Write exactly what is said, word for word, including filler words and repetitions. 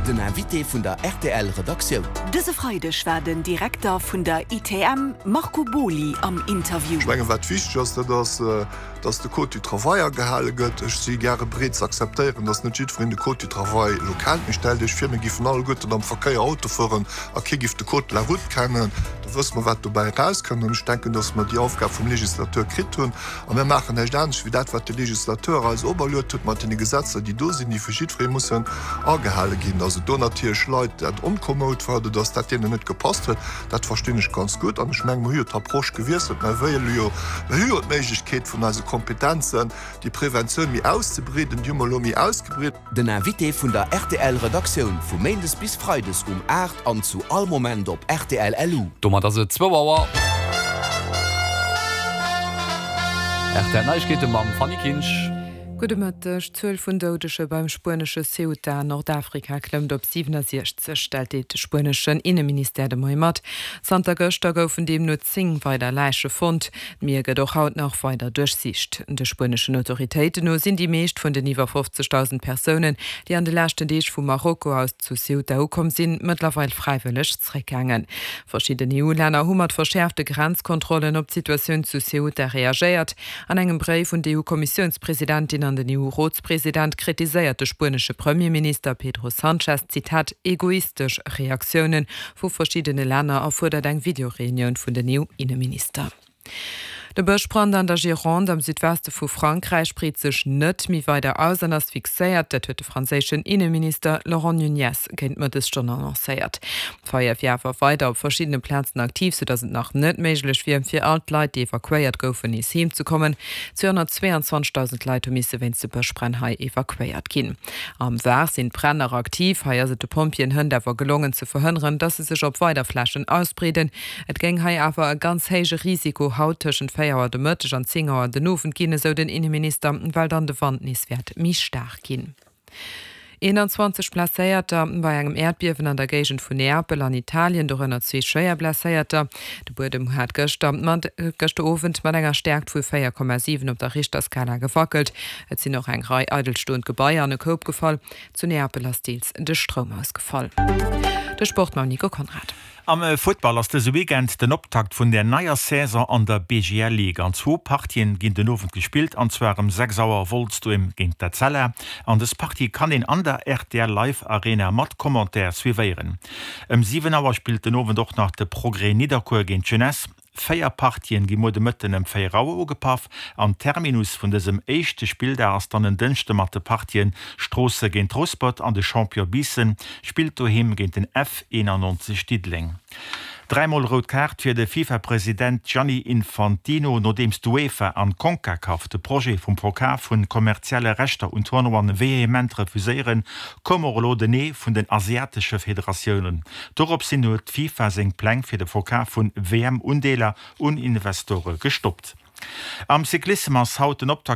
Den Invité vun der R T L Redaktioun. Dëse Freideg war den Direkter vun der I T M Marco Boly am Interview. Ech mengen, wat wichteg ass, dat ass, dass de Code du Travail agehale gëtt. Ech si gäre bereet ze akzeptéieren, dass net jiddwereen de Code du Travail elo kennt. Mee stellt Iech vir, mir géifen alleguerten am Verkéier Auto fueren a kee géif de Code de la route kennen. Da wësse mer, wat dobäi erauskënnt. An ech denken, dass mer déi Aufgab vum Legislateur kritt hunn a mir maachen näischt anescht wéi dat, wat de Legislateur eis operluecht huet mat deene Gesetzer, déi do sinn, déi vu jiddweree mussen agehale ginn. Dass et do natierlech Leit dat onkomoud war oder dass dat deenen net gepasst huet, dat verstinn ech ganz gutt. An ech mengen, mir hu jo d'Approche gewiesselt, mir wëlle jo, mir hu jo d'Méiglechkeet vun eise Kompetenzen, déi Preventioun méi auszebreeden, déi hu mer elo méi ausgebreet. Den Invité vun der R T L Redaktioun vu Méindes bis Freides um aacht an zu all Moment op R T L L U. Domat ass et zwou Auer. R T L Neiegkeete mam Fanny Kinsch. Gudde Mëtteg. D'Zuel vun Doudege beim spuenesche Ceuta an Nordafrika klëmmt op siwenesechzeg, deelt de spueneschen Inneministère de Moie mat. Zanter gëschter goufen deemno zéng weider Läiche fonnt. D'Mier gëtt och haut nach weider duerchsicht. De spueneschen Autoritéiten no sinn déi meescht vun den iwwer fofzegdausend Persounen, déi an de leschten Deeg vu Marokko aus zu Ceuta ukomm sinn, mëttlerweil fräiwëlleg zeréckgaangen. Verschidden E U-Länner hu mat verschäerfte Grenzkontrollen op d'Situatioun zu Ceuta reagéiert. An engem Bréif un d'E U-Kommissiounspresidentin an den E U-Rotspresident kritiséiert de spuenesche Premierminister Pedro Sanchez, Zitat, egoistesch Reaktioune vu verschiddene Länner a fuerdert eng Videoreunioun vun den E U-Inneminister. De Bëschbrand an der Gironde am Südweste vu Frankräich breet sech net méi weider aus an ass fixéiert, dat huet de franséischen Inneminister Laurent Nunez géint Mëttesstonn annoncéiert. D'Feier wier awer weider op verschiddene Plazen aktiv, soudatt et nach net méiglech wier, fir all d'Leit, déi evakuéiert goufen, nees heem ze kommen. Zweehonnertzweeanzwanzegdausend Leit hu misse wéinst de Bëschbränn hei evakuéiert ginn. Am Var sinn d'Bränn nach aktiv, hei ass et de Pompjeeën hënt awer gelongen ze verhënneren, datt se sech op weider Flächen ausbreeden. Et géing hei awer e ganz héije Risiko haut tëschent véier Auer de Mëtteg an zéng Auer den Owend ginn, esou den Inneminister, well dann de Wand nees wäert méi staark ginn. Eenanzwanzeg Blesséierter bei engem Äerdbiewen an der Géigend vun Neapel an Italien, dorënner zwee schwéier Blesséierter. De Buedem hat gëschter mat gëschter Owend mat enger Stäerkt vu véier Komma siwen op der Richterskala gewackelt. Et sinn och eng Rei eidelstoend Gebaier an e Koup gefall. Zu Neapel ass deels de Stroum ausgefall. De Sport mam Nico Conrad. Am Futtball ass dëse Weekend den Optakt vun der neier Saison an der B G L Ligue. An zwou Partien ginn den Owend gespillt, an zwar ëm sechs Auer Wolz doheem géint d'Etzella. An dës Partie kann een an der R T L Live Arena mat Commentaire suivéieren. Ëm siwen Auer spillt den Owend och nach de Progrès Nidderkuer géint d'Jeunesse. Véier Partien gi muer de Mëtten ëm véier Auer ugepaff an Terminus vun dësem éischte Spilldag ass dann en Dënschde mat de Partien Stroossen géint Rouspert an de Champion Biissen spillt doheem géint den F eenannonzeg Diddeleng. Dräimol rout Kaart fir de FIFA-President Gianni Infantino, nodeems d'UEFA an d'Concacaf de Projet vum Verkaf vu kommerzielle Rechter un Tournoien vehement refuséieren, koum och elo den Nee vun den asiatesche Federatiounen. Doropshin huet d'FIFA seng Pläng fir de Verkaf vun W M-Undeeler un Investore gestoppt. Am Cyclissem ass haut den Optakt